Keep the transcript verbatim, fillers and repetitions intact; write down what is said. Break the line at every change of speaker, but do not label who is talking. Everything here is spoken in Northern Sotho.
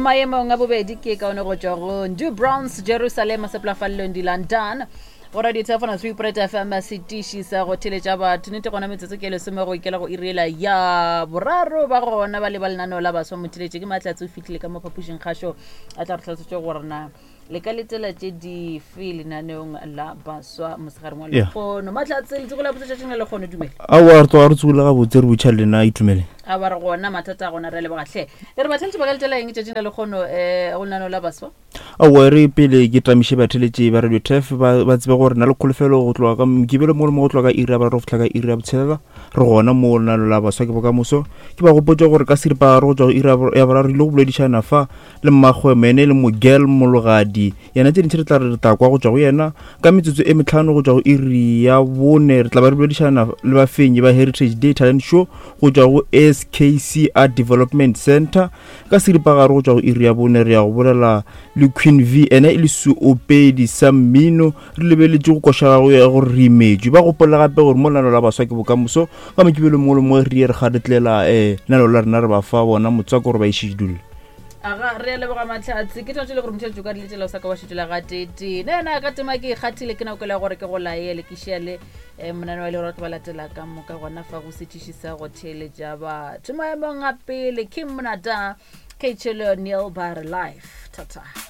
Maemong a bobedi ke kaone go tšwa go Ndu Browns Jerusalema seplafallong di London. Go radio Thefona three Pret F M setiši sa go theletša batho. Nnete gona metsotso ke lesome go ikela go iri ya boraro ba gona ba leba lenaneo la baswa motheletše ke Mahlatse o fihlile ka mo phapošing kgašo a tla re hlalosetša gore na le ka letela tše dife lenaneong la baswa mosegareng wa
Yeah.
lekgono. Mahlatse letsogo la botse tšatšing la lekgono dumela.
Aowa re tloga re tsogile gabotse re botšha lena itumele.
A ba re gona mathata a gona re a leboga hle. Le re batheletši ba ka letela eng tšatšing la lekgono um go lenaneo la baswa?
Aowa re pele ke tamiše batheletši ba Radio T F ba ba tsebe gore na le kholofelo go tloga ka Mokibelo mo le mo go tloga ka iri ya boraro go fihla ka iri ya botshelela re gona mo lenaneo la baswa ke bokamoso. Ke ba gopotša gore ka seripagare go tšwa go iri ya bor-, ya boraro re ile go boledišana fa le mmagwe ene le Mogel Mologadi yena tše dintši re tla re re tla kwa go tšwa go yena ka metsotso e metlhano go tšwa go iri ya bone re tla ba re boledišana le bafenyi ba Heritage Day Talent Show go tšwa go S K C Art Development Center. Ka seripagare go tšwa go iri ya bone re ya go bolela le Queen V ene e le seopedi sa mmino re lebeletše go koša gago ya gore re imetšwe. Ba gopola gape gore mo lenaneo la baswa ke bokamoso ka Mokibelo mongwe le mongwe re ye re kgaretlela um lenaneo la rena re ba fa bona motswako gore ba išedule.
Aga re a leboga Mahlatse ke tšona tše le gore motho ka diletšela o sa ka wa šetšela ga tete ne ena ka tema ke ikgathile ke nako ya gore ke go laele ke šia le um monane wa e le gore batho ba latela ka moka gona fa go setiši sa go theeletša batho. Maemong a pele Kim Monada K Chelo Neil Bar Life. Tata.